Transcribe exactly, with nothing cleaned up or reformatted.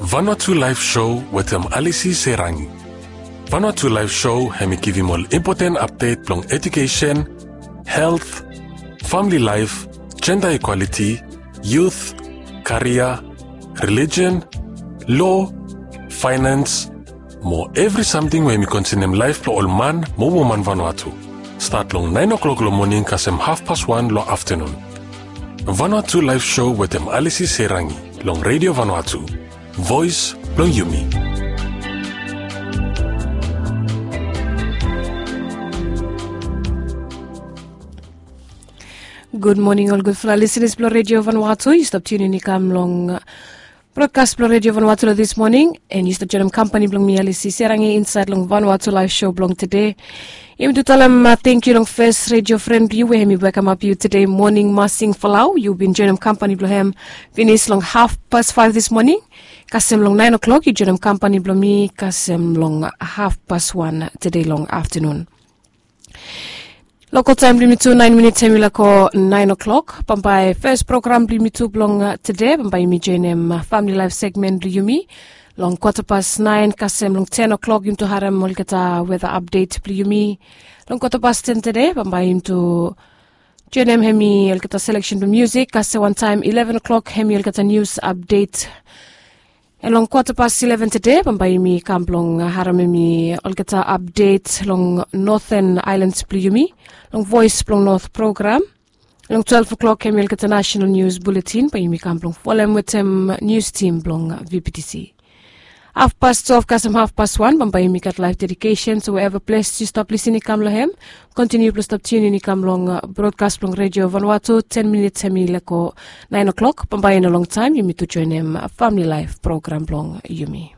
Vanuatu Live Show wetem Alisi Serangi. Vanuatu Live Show hem i givim ol impoten apdet blong edukesen, helt, famili laef, jenda ikwaliti, yut, karia, relijen, lo, faenans, mo evri samting we hem i konsenem laef blong ol man mo woman Vanuatu. Stat long naen o'klok long moning kasem hafpas wan long aftanun. Vanuatu Live Show wetem Alisi Serangi long Redio Vanuatu, voes blong yumi. Gud moning ol gudfala lisenas blong Redio Vanuatu. Yu stap tiunin i kam long brodkas blong Redio Vanuatu long dis moning, and yu stap joinim kampani blong mi Alisi Serangi insaed long Vanuatu Live Show blong tede. Yumi tu talem tangkiu long fes redio fren blong yu we hem i wekamap yu tede moning, Masing Falau. Yu bin joinim kampani blong hem finis long hafpas faef dis moning. Kasem long naen o'klok yu joinim kampani blong mi kasem long hafpas wan tede long aftanun. Lokol taem blong yumi tu naen minits hem i lako naen o'klok. Bambae fes program blong yumi tu blong tede bambae yumi joinim famili laef segmen blong yumi. Long kwatapas naen kasem long ten o'klok yumi tu harem olgeta weta apdet blong yumi. Long kwatapas ten tede bambae yumi tu joinim hem i olgeta seleksen blong musik kasem wantaem ileven o'klok hem i olgeta nius apdet. Long kwatapas ileven tede bambae yumi kam blong harem hem i olgeta apdet long noten aelans blong yumi long voes blong not program. Long twelef o'klok hem i olgeta nasenal nius buletin bae yumi kam blong folem wetem nius tim blong vptc. Hafpas twelef kasem hafpas wan bambae yumi gat laef dedikesen, so we eva ples yu stap lisin i kam long hem, kontiniu blong stap tiunin i kam long brodkas blong Redio Vanuatu. Ten minits hem i lako naen o'klok. Bambae i no longtaem yumi tu joinim famili laef program blong yumi.